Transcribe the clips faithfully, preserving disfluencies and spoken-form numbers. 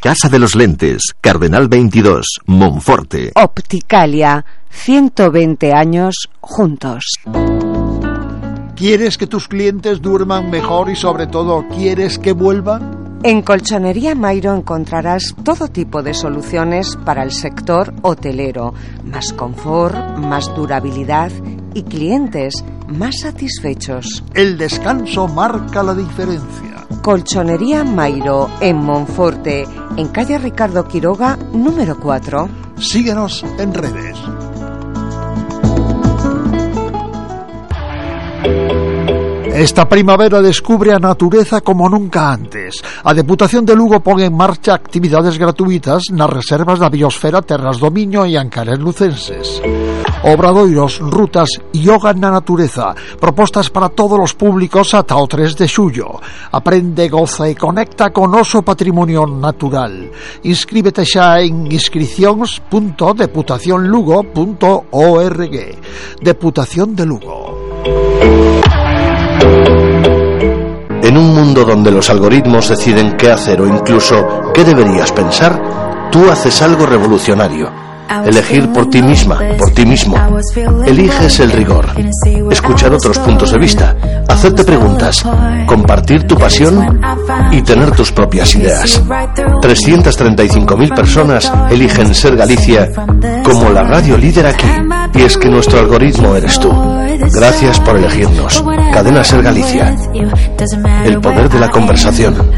Casa de los Lentes, Cardenal veintidós, Monforte. Opticalia, ciento veinte años juntos. ¿Quieres que tus clientes duerman mejor y sobre todo quieres que vuelvan? En Colchonería Mairo encontrarás todo tipo de soluciones para el sector hotelero. Más confort, más durabilidad y clientes más satisfechos. El descanso marca la diferencia. Colchonería Mairo en Monforte, en calle Ricardo Quiroga, número cuatro. Síguenos en redes. Esta primavera descubre a natureza como nunca antes. A Deputación de Lugo pon en marcha actividades gratuitas nas reservas da biosfera Terras do Miño e Ancares lucenses. Obradoiros, rutas, yoga na natureza, propostas para todos os públicos ata o tres de xullo. Aprende, goza e conecta con noso patrimonio natural. Inscríbete xa en inscricións punto deputación lugo punto org. Deputación de Lugo. En un mundo donde los algoritmos deciden qué hacer o incluso qué deberías pensar, tú haces algo revolucionario. Elegir por ti misma, por ti mismo. Eliges el rigor, escuchar otros puntos de vista, hacerte preguntas, compartir tu pasión y tener tus propias ideas. trescientas treinta y cinco mil personas eligen Ser Galicia como la radio líder aquí. Y es que nuestro algoritmo eres tú. Gracias por elegirnos. Cadena Ser Galicia. El poder de la conversación.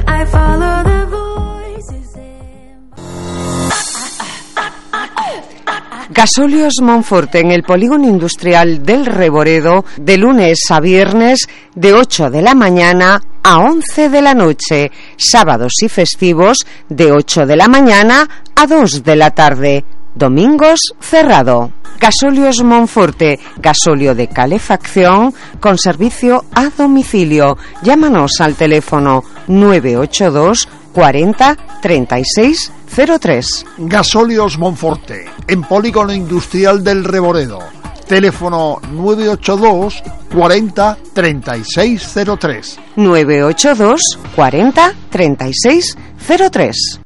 Gasóleos Monforte en el polígono industrial del Reboredo, de lunes a viernes, de ocho de la mañana a once de la noche, sábados y festivos de ocho de la mañana a dos de la tarde, domingos cerrado. Gasóleos Monforte, gasóleo de calefacción con servicio a domicilio. Llámanos al teléfono nueve ocho dos cuarenta treinta y seis cero tres. Gasóleos Monforte, en polígono industrial del Reboredo. Teléfono nueve ocho dos cuarenta treinta y seis cero tres. nueve ocho dos cuarenta treinta y seis cero tres.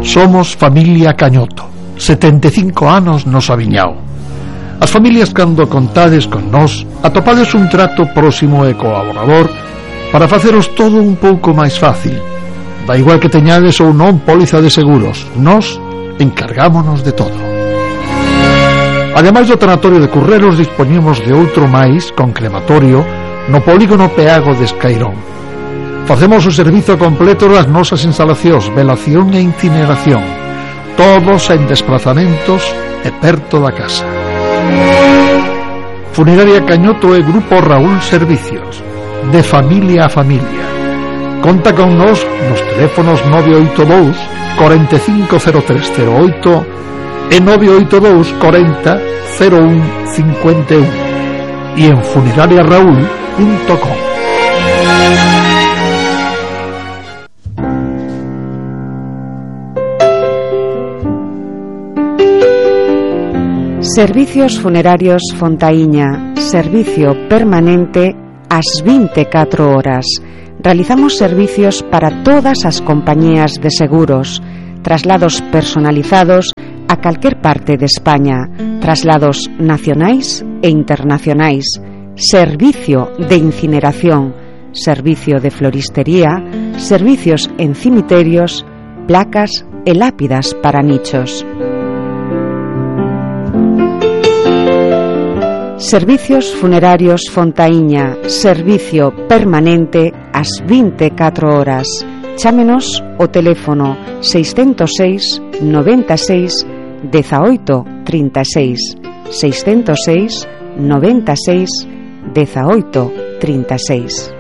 Somos familia Cañoto, setenta e cinco anos nos aviñao. As familias cando contades con nós atopades un trato próximo e colaborador para faceros todo un pouco máis fácil. Da igual que teñades ou non póliza de seguros, nós encargámonos de todo. Ademais do tanatorio de Currelos, dispoñemos de outro máis con crematorio no polígono Peago de Escairón. Facemos o servizo completo das nosas instalacións, velación e incineración, todos en desplazamentos e perto da casa. Funeraria Cañoto e Grupo Raúl Servicios, de familia a familia. Conta con nos nos teléfonos nove oito dous cuarenta e cinco cero tres cero oito e nove oito dous cuarenta cero un cincuenta e un e en funeraria raúl punto com. Servicios Funerarios Fontaíña, servicio permanente ás vinte e catro horas. Realizamos servicios para todas as compañías de seguros, traslados personalizados a calquer parte de España, traslados nacionais e internacionais, servicio de incineración, servicio de floristería, servicios en cimiterios, placas e lápidas para nichos. Servicios Funerarios Fontaíña, servicio permanente ás vinte e catro horas. Chámenos o teléfono seiscentos seis noventa e seis dezaoito trinta e seis, seiscentos seis noventa e seis dezaoito trinta e seis.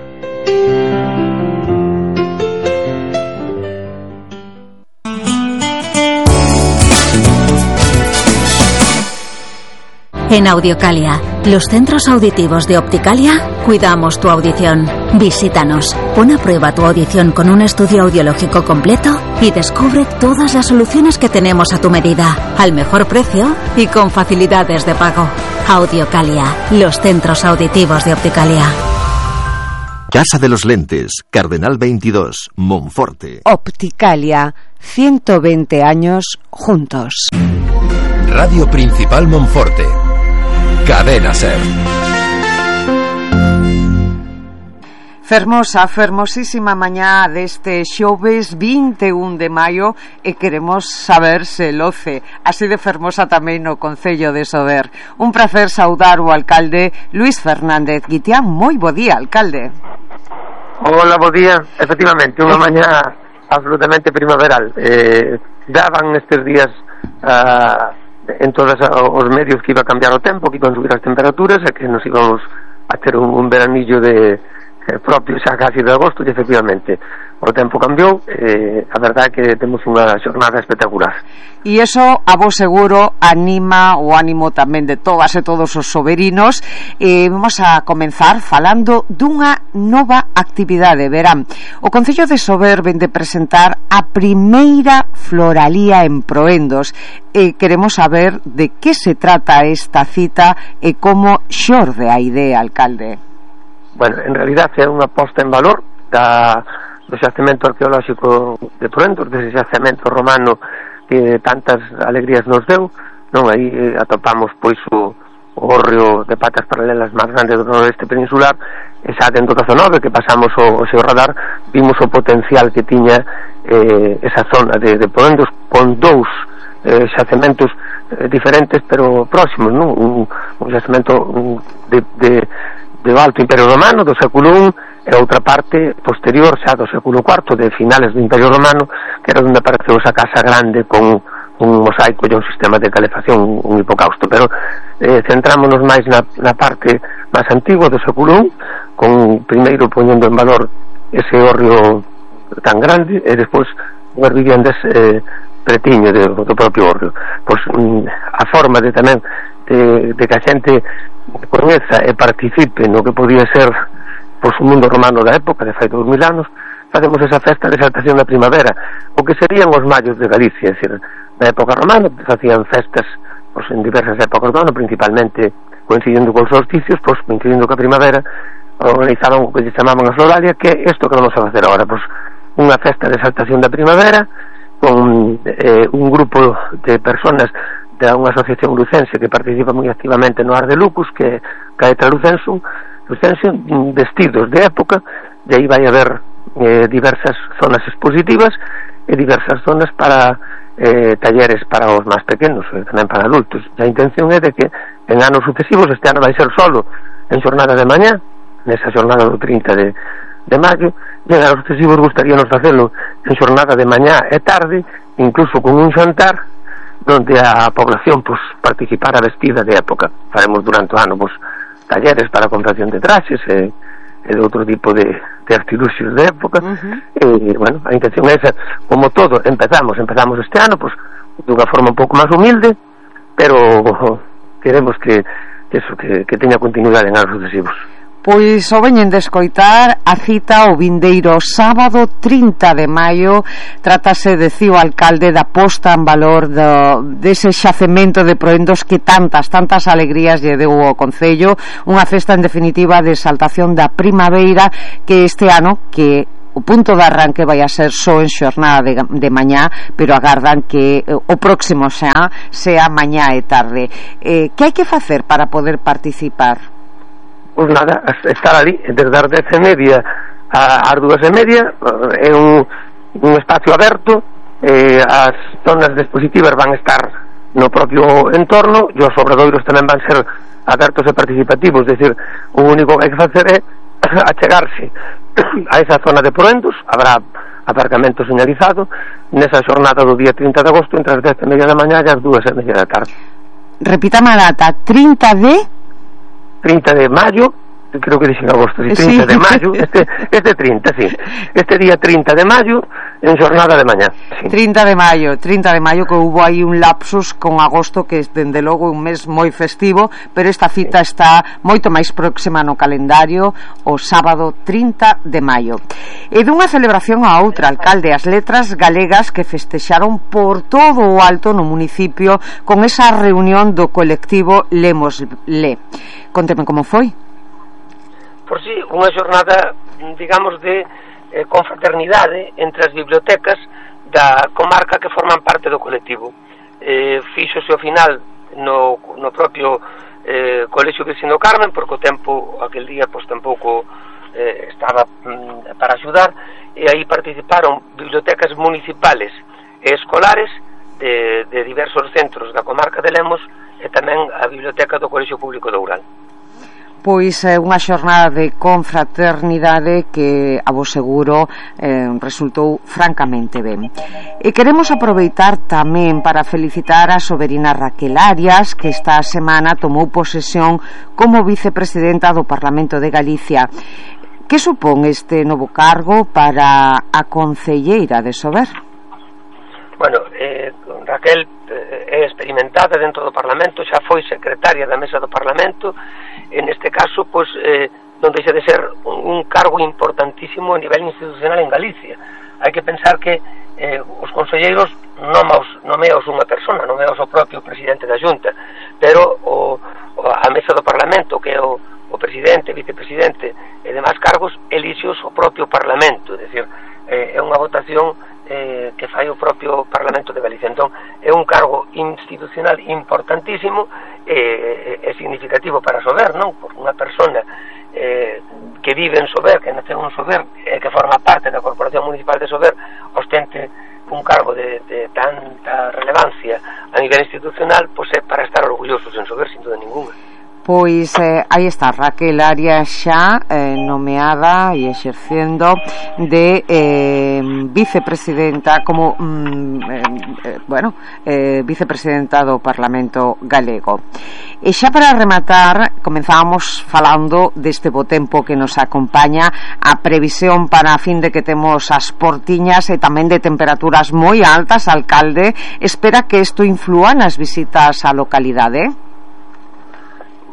En Audiocalia, Los centros auditivos de Opticalia cuidamos tu audición. Visítanos, pon a prueba tu audición con un estudio audiológico completo y descubre todas las soluciones que tenemos a tu medida, al mejor precio y con facilidades de pago. Audiocalia, los centros auditivos de Opticalia. Casa de los Lentes, Cardenal veintidós, Monforte. Opticalia, ciento veinte años juntos. Radio Principal Monforte. Cadena Ser. Fermosa, fermosísima mañá deste xoves vinte e un de maio e queremos saber se loce así de fermosa tamén no Concello de Sober. Un prazer saudar o alcalde Luís Fernández Guitián. Moi bo día, alcalde. Hola, bo día. Efectivamente, unha mañá absolutamente primaveral. Eh, daban estes días uh, en todos os medios que iba a cambiar o tempo, que iban subir as temperaturas e que nos íbamos a ter un, un veranillo de eh, propio xa casi de agosto, e efectivamente o tempo cambiou, eh, a verdade é que temos unha xornada espectacular. E iso, a vos seguro, anima o ánimo tamén de todas e todos os soberinos. Eh, vamos a comenzar falando dunha nova actividade. Verán, o Concello de Sober vende presentar a primeira floralía en Proendos. E queremos saber de que se trata esta cita e como xorde a idea, alcalde. Bueno, en realidad é unha posta en valor da, do xacemento arqueolóxico de Proendos, dese xacemento romano que tantas alegrías nos deu, non? Aí eh, atopamos pois o, o hórreo de patas paralelas máis grande do noroeste peninsular, e xa dentro do dezenove que pasamos o, o seu radar, vimos o potencial que tiña eh, esa zona de, de Proendos, con dous eh, xacementos eh, diferentes pero próximos, non? Un, un xacemento de, de do Alto Imperio Romano do século I e outra parte posterior xa do século cuarto, de finales do Imperio Romano, que era onde apareceu esa casa grande con un mosaico e un sistema de calefacción, un hipocausto. Pero eh, centrámonos máis na, na parte máis antigua do século I, con primeiro poñendo en valor ese hórreo tan grande e despois unhas viviendas eh, pretiño de, do propio hórreo. Pois a forma de tamén de, de que a xente coñeza e participe no que podía ser pois un mundo romano da época, de fai dous mil anos, facemos esa festa de exaltación da primavera, o que serían os mallos de Galicia, é dicir, na época romana facían festas pois en diversas épocas do ano, principalmente coincidindo con os solsticios, pois coincidindo ca primavera, organizaban o que se chamaban a Floralia, que é isto que vamos a facer agora, pois unha festa de exaltación da primavera con eh, un grupo de personas de unha asociación lucense que participa moi activamente no Ar de Lucus, que Caetra Lucenso, Lucense, vestidos de época, e aí vai haber eh, diversas zonas expositivas e diversas zonas para eh, talleres para os máis pequenos e tamén para adultos. E a intención é de que en anos sucesivos, este ano vai ser solo en xornada de mañá, nesa xornada do trinta de, de maio, e en anos sucesivos gustaríanos facelo en xornada de mañá e tarde, incluso con un xantar donde a población pues, participara vestida de época. Faremos durante o ano pues, talleres para a confección de traxes e, e de outro tipo de, de artiluxios de época. Uh-huh. E, bueno, a intención é esa. Como todo, empezamos empezamos este ano pues, dunha forma un pouco máis humilde, pero queremos que, que, eso, que, que teña continuidade en anos sucesivos. Pois o veñen de escoitar a cita o vindeiro sábado trinta de maio. Trátase, decía o alcalde, da posta en valor do, dese xacemento de Proendos que tantas, tantas alegrías lle deu ao Concello. Unha festa en definitiva de exaltación da primavera, que este ano que o punto de arranque vai a ser só en xornada de, de mañá, pero agardan que o próximo xa sea mañá e tarde. Eh, que hai que facer para poder participar? Pois nada, estar ali desde as dez e media ás dúas e media, é un, un espacio aberto, eh, as zonas dispositivas van estar no propio entorno e os obradoiros tamén van ser abertos e participativos, é dicir, o único que hai que facer é achegarse a esa zona de Proendos, habrá aparcamento señalizado nesa xornada do día trinta de agosto entre as dez e media da mañá e as dúas e media da tarde. Repítame a data, trinta de trinta de maio creo que dixen agosto, si trinta sí. de maio, este, este trinta, sí, este día trinta de maio, en xornada de mañá. Sí. trinta de maio, trinta de maio, que hubo aí un lapsus con agosto, que dende logo un mes moi festivo, pero esta cita sí. está moito máis próxima no calendario, o sábado trinta de maio. E dunha celebración a outra, alcalde, as letras galegas que festexaron por todo o alto no municipio con esa reunión do colectivo Lemos Le. Conteme como foi. Por si, unha xornada, digamos, de eh, confraternidade entre as bibliotecas da comarca que forman parte do colectivo. Eh, fíxose ao final no, no propio eh, Colexio Vecino Carmen, porque o tempo aquel día pois tampouco eh, estaba mm, para axudar, e aí participaron bibliotecas municipales e escolares de, de diversos centros da comarca de Lemos e tamén a biblioteca do Colexio Público de Oural. Pois é unha xornada de confraternidade que, a vos seguro, eh, resultou francamente ben. E queremos aproveitar tamén para felicitar a soberina Raquel Arias, que esta semana tomou posesión como vicepresidenta do Parlamento de Galicia. Que supón este novo cargo para a concelleira de Sober? Bueno, eh, Raquel eh, é experimentada dentro do Parlamento, xa foi secretaria da Mesa do Parlamento. En este caso, pois, eh, non deixa de ser un, un cargo importantísimo a nivel institucional en Galicia. Hai que pensar que eh, os conselleiros non os nomeaos unha persona, nomeaos o propio presidente da Xunta, pero o, o, a Mesa do Parlamento, que é o, o presidente, vicepresidente e demais cargos, elixos o propio Parlamento, é dicir, eh, é unha votación Eh, que fai o propio Parlamento de Galicia. Entón, é un cargo institucional importantísimo e eh, é significativo para Sober, non? Por unha persona eh, que vive en Sober, que nace en Sober, eh, que forma parte da Corporación Municipal de Sober, ostente un cargo de, de tanta relevancia a nivel institucional, pois é para estar orgullosos en Sober, sin duda ninguna. Pois eh, aí está Raquel Arias xa eh, nomeada e exercendo de eh, vicepresidenta como mm, eh, bueno eh, vicepresidenta do Parlamento Galego. E xa para rematar, comenzábamos falando deste bo tempo que nos acompaña, a previsión para a fin de que temos as portiñas e tamén de temperaturas moi altas. Alcalde, espera que isto inflúa nas visitas á localidade?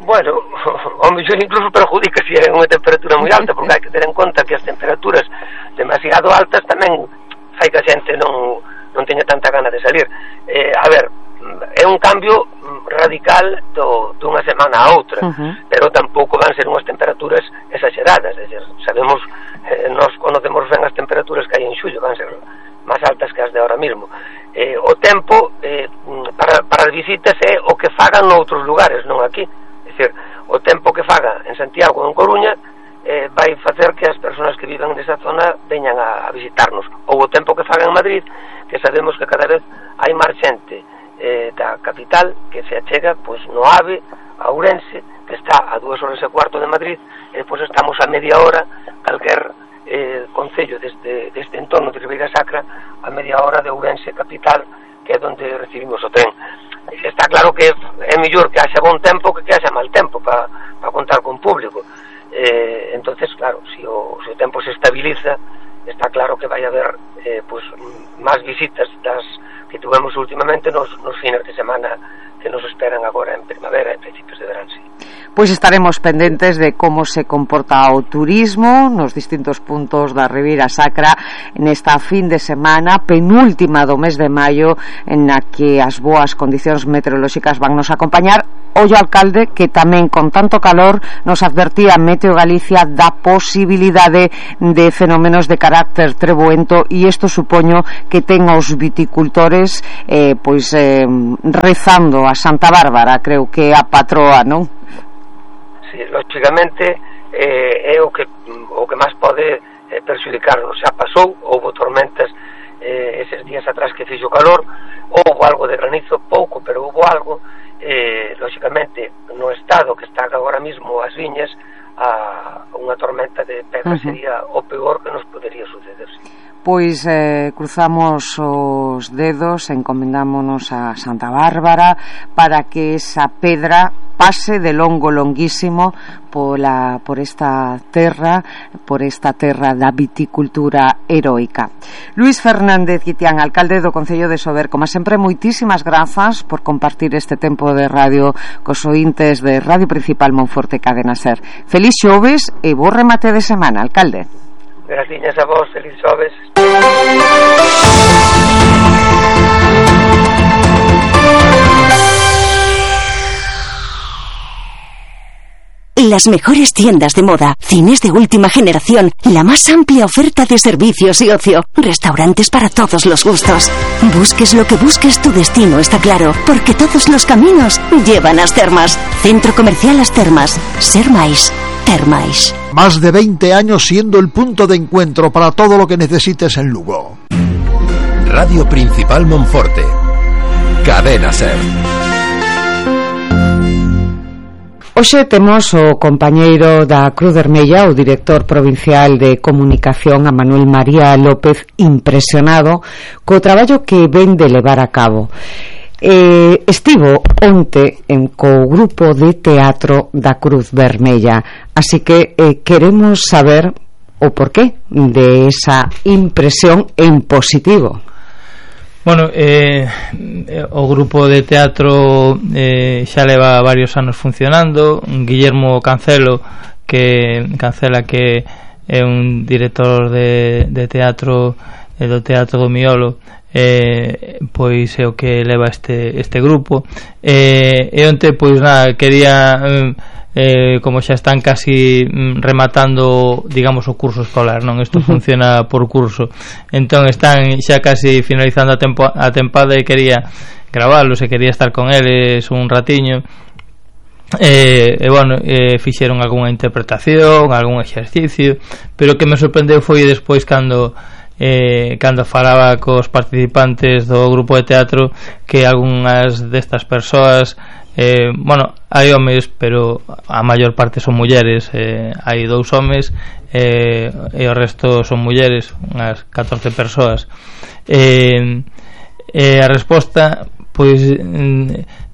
Bueno, o mellor incluso perjudica se é unha temperatura moi alta, porque hai que ter en conta que as temperaturas demasiado altas tamén fai que a xente non, non teña tanta gana de salir. Eh, a ver, é un cambio radical do, dunha semana a outra, uh-huh. pero tampouco van ser unhas temperaturas exageradas, é dicir, sabemos, eh, nós conocemos ben as temperaturas que hai en xullo, van ser máis altas que as de ahora mismo. Eh, o tempo eh, para, para as visitas é o que fagan noutros lugares, non aquí. É dicir, o tempo que faga en Santiago ou en Coruña eh, vai facer que as persoas que viven nesa zona veñan a, a visitarnos, ou o tempo que faga en Madrid, que sabemos que cada vez hai máis xente eh, da capital que se achega pois no AVE, a Ourense, que está a dúas horas e cuarto de Madrid, e pois estamos a media hora calquer eh, concello deste, deste entorno de Ribeira Sacra, a media hora de Ourense capital, que é onde recibimos o tren. Está claro que é mellor que haxa bon tempo que que haxa mal tempo para pa contar con público. Eh, entonces, claro, se si o, si o tempo se estabiliza, está claro que vai haber eh, pues, máis visitas das que tuvemos últimamente nos, nos fines de semana que nos esperan agora en primavera e principios de verán, sí. Pois estaremos pendentes de como se comporta o turismo nos distintos puntos da Ribeira Sacra nesta fin de semana penúltima do mes de maio, en na que as boas condicións meteorolóxicas van nos acompañar. Ollo, alcalde, que tamén con tanto calor nos advertía Meteo Galicia da posibilidade de fenómenos de carácter treboento, e isto supoño que ten os viticultores eh, pois eh, rezando a Santa Bárbara, creo que a patroa, non? Sí, lógicamente eh, é o que o que máis pode eh, perxudicarnos. Xa pasou, houve tormentas eh, eses días atrás que fixo calor, houve algo de granizo, pouco, pero houve algo. Eh, lógicamente, no estado que está agora mismo as viñas, a unha tormenta de pedra uh-huh. sería o peor que nos podería suceder, sí. Pois eh, cruzamos os dedos, encomendámonos a Santa Bárbara para que esa pedra pase de longo longuísimo pola, por esta terra, por esta terra da viticultura heroica. Luís Fernández Guitián, alcalde do Concello de Sober, como sempre, moitísimas grazas por compartir este tempo de radio cos ointes de Radio Principal Monforte Cadena Ser. Feliz xoves e bo remate de semana, alcalde. Gracias a vos, feliz xoves. Las mejores tiendas de moda, cines de última generación, la más amplia oferta de servicios y ocio, restaurantes para todos los gustos. Busques lo que busques, tu destino está claro, porque todos los caminos llevan a As Termas. Centro Comercial As Termas. Ser máis, ter máis. Más de veinte años siendo el punto de encuentro para todo lo que necesites en Lugo. Radio Principal Monforte. Cadena Ser. Hoxe temos o compañeiro da Cruz Vermella, o director provincial de comunicación, a Manuel María López, impresionado co traballo que ven de levar a cabo. Eh, estivo onte en co grupo de teatro da Cruz Vermella, así que eh, queremos saber o porqué de esa impresión en positivo. Bueno, eh, o grupo de teatro eh, xa leva varios anos funcionando. Guillermo Cancelo, que Cancela que é un director de, de teatro eh, do Teatro do Miolo, eh, pois é o que leva este, este grupo. Eh, e onte, pois nada, quería... Eh, Eh, como xa están casi mm, rematando, digamos, o curso escolar, non? Isto uh-huh. funciona por curso, entón están xa casi finalizando a, tempo, a tempada e quería gravarlos e quería estar con eles un ratiño. E, e bueno, eh, fixeron algunha interpretación, algún exercicio, pero o que me sorprendeu foi despois cando eh, cando falaba cos participantes do grupo de teatro que algunhas destas persoas, eh, bueno, hai homes, pero a maior parte son mulleres, eh, hai dous homes eh, e o resto son mulleres, unhas catorce persoas. Eh, eh, a resposta, pois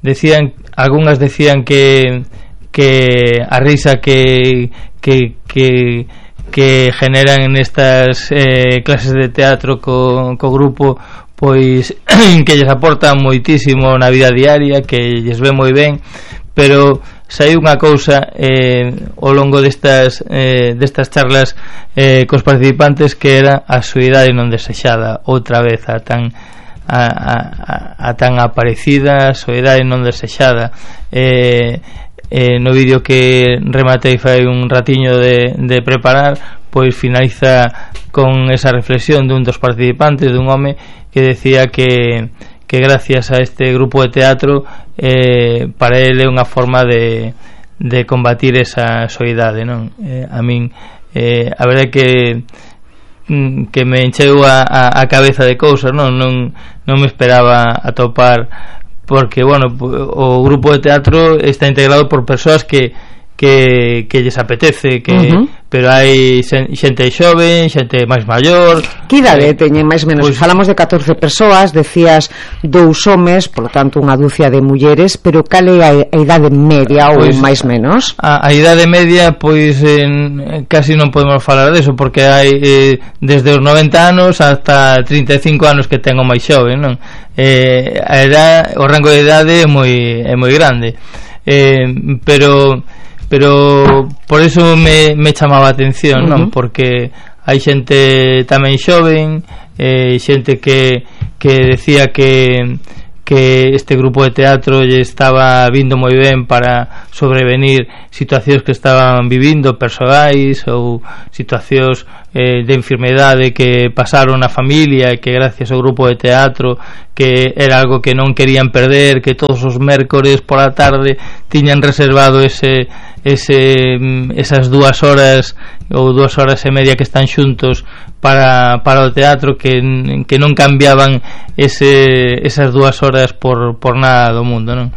decían, algunhas decían que que a risa que que que que generan nestas eh, clases de teatro co, co grupo, pois que lles aporta moitísimo na vida diaria, que lles ve moi ben, pero saiu unha cousa eh, ao longo destas eh, destas charlas eh, cos participantes, que era a soidade non desexada, outra vez a tan a, a, a tan aparecida soidade non desexada. eh, eh, no vídeo que rematei fai un ratiño de, de preparar, pois finaliza con esa reflexión dun dos participantes, dun home que decía que, que gracias a este grupo de teatro eh, para ele é unha forma de, de combatir esa soidade, non? Eh, a min eh, a verdade que que me encheu a, a, a cabeza de cousas, non? Non, non me esperaba atopar, porque, bueno, o grupo de teatro está integrado por persoas que que, que lles apetece, que uh-huh. pero hai xente xoven, xente máis maior. Que idade eh, teñen máis menos? Pues, falamos de catorce persoas, decías dous homes, polo tanto unha dúcia de mulleres, pero cal é a, a idade media ou pues, máis menos? A, a idade media, pois en, casi non podemos falar deso, porque hai eh, desde os noventa anos hasta trinta e cinco anos que ten o máis xoven, non? Eh, a edad, o rango de idade é moi, é moi grande, eh, pero pero por eso me, me chamaba a atención, uh-huh. non? Porque hai xente tamén xoven, eh, xente que, que decía que que este grupo de teatro lle estaba vindo moi ben para sobrevenir situacións que estaban vivindo persoais ou situacións eh, de enfermedade que pasaron na familia, e que gracias ao grupo de teatro, que era algo que non querían perder, que todos os mércores pola tarde tiñan reservado ese, ese esas dúas horas ou dúas horas e media que están xuntos para, para o teatro, que, que non cambiaban ese, esas dúas horas por, por nada do mundo, non?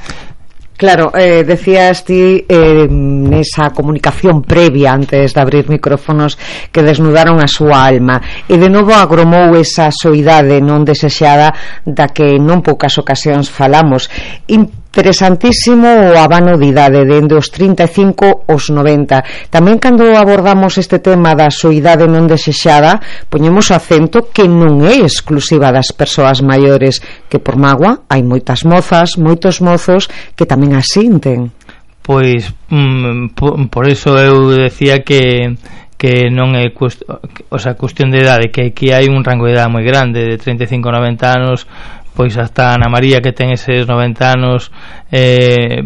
Claro, eh, decías ti eh, nesa comunicación previa antes de abrir micrófonos que desnudaron a súa alma, e de novo agromou esa soidade non desexada da que non poucas ocasións falamos. Interesantísimo o abano de idade dende os trinta e cinco aos noventa. Tamén cando abordamos este tema da soidade non desexada, poñemos o acento que non é exclusiva das persoas maiores, que por mágoa hai moitas mozas, moitos mozos que tamén a sinten. Pois mm, por, por eso eu decía que que non é cuest... o sea, cuestión de idade, que aquí hai un rango de idade moi grande, de trinta e cinco a noventa anos. Pois hasta Ana María, que ten eses noventa anos, eh,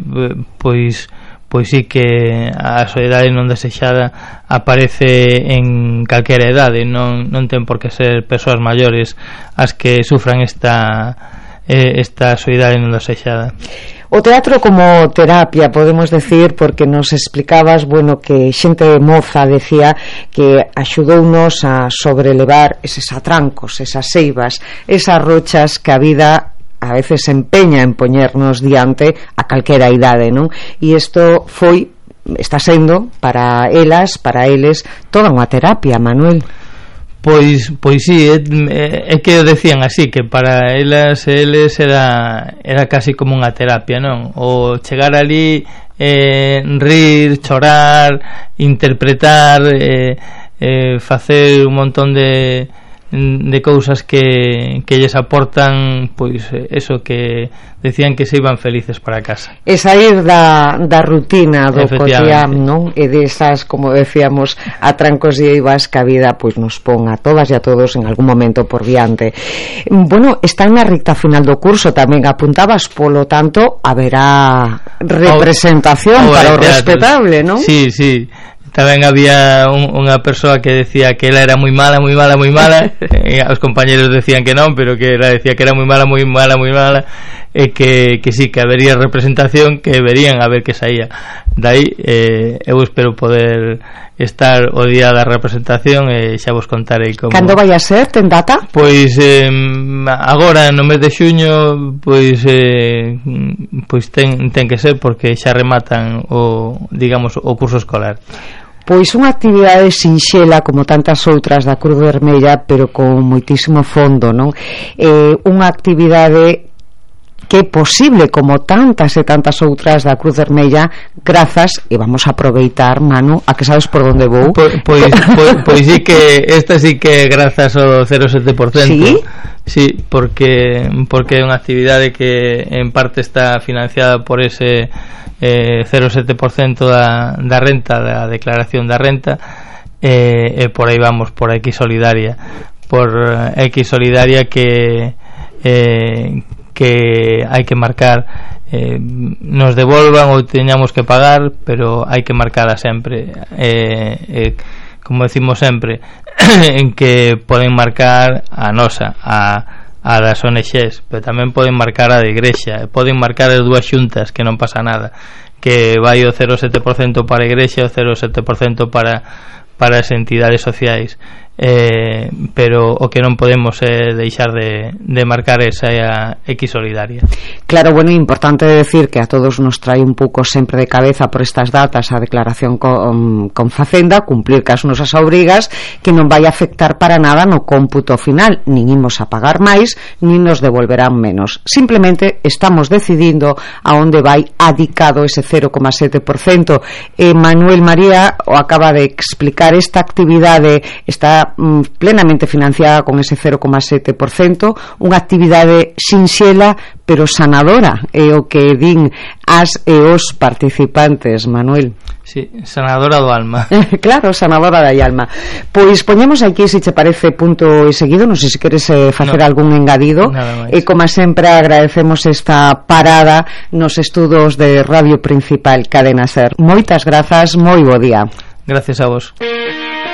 pois pois sí que a soidade non desexada aparece en calquera idade, non, non ten por que ser persoas maiores as que sufran esta eh, esta soidade non desexada. O teatro como terapia, podemos decir, porque nos explicabas, bueno, que xente moza decía que axudounos a sobrelevar eses atrancos, esas seivas, esas rochas que a vida a veces empeña en poñernos diante a calquera idade, non? E isto foi, está sendo para elas, para eles, toda unha terapia, Manuel. Pois, pois sí, é, é que decían así, que para elas eles era, era casi como unha terapia, non? O chegar ali, eh, rir, chorar, interpretar, eh, eh, facer un montón de de cousas que, que lles aportan, pois eso, que decían que se iban felices para casa. E sair da, da rutina do cotidiano, non? E desas, como decíamos, atrancos e eivas que a vida pois nos pon a todas e a todos en algún momento por diante. Bueno, está na recta final do curso, tamén apuntabas, polo tanto haberá representación o, o para o respetable, non? Sí, sí. Tamén había un, unha persoa que decía que ela era moi mala, moi mala, moi mala e os compañeros decían que non, pero que ela decía que era moi mala, moi mala, moi mala, e que, que sí, que habería representación, que verían a ver que saía. Dai, eh, eu espero poder estar o día da representación e xa vos contarei como... Cando vai a ser? Ten data? Pois eh, agora no mes de xuño, pois eh, pois ten, ten que ser, porque xa rematan o, digamos, o curso escolar. Pois unha actividade sinxela como tantas outras da Cruz Vermella, pero con moitísimo fondo, non? Eh, unha actividade que é posible como tantas e tantas outras da Cruz Vermella, grazas, e vamos a aproveitar, Manu, a que sabes por onde vou. Pois, pois, pois, pois sí que esta sí que grazas ao cero coma sete por cento. Sí? Sí, porque porque é unha actividade que en parte está financiada por ese eh, cero coma sete por cento da, da renta, da declaración da renta, e eh, eh, por aí vamos, por X Solidaria, por X Solidaria que eh, que hai que marcar, eh, nos devolvan ou teñamos que pagar, pero hai que marcala sempre, eh, eh, como decimos sempre, en que poden marcar a nosa, a a das O N Xes, pero tamén poden marcar a de Igrexa, poden marcar as dúas xuntas, que non pasa nada, que vai o cero coma sete por cento para a Igrexa e o cero coma sete por cento para para as entidades sociais, eh, pero o que non podemos é eh, deixar de, de marcar esa a X Solidaria. Claro, bueno, é importante decir que a todos nos trae un pouco sempre de cabeza por estas datas a declaración con, con Facenda, cumplir cas nosas obrigas, que non vai afectar para nada no cómputo final, nin imos a pagar máis, nin nos devolverán menos. Simplemente estamos decidindo a onde vai adicado ese cero coma sete por cento. eh, Manuel María o acaba de explicar, esta actividade está mm, plenamente financiada con ese cero coma sete por cento, unha actividade sinxela pero sanadora, é o que din as e os participantes, Manuel. Sí, sanadora do alma. Claro, sanadora da alma. Pois poñemos aquí, se che parece, punto e seguido, non sei se queres eh, facer no, algún engadido. E como sempre agradecemos esta parada nos estudos de Radio Principal Cadena Ser. Moitas grazas, moi bo día. Gracias a vos.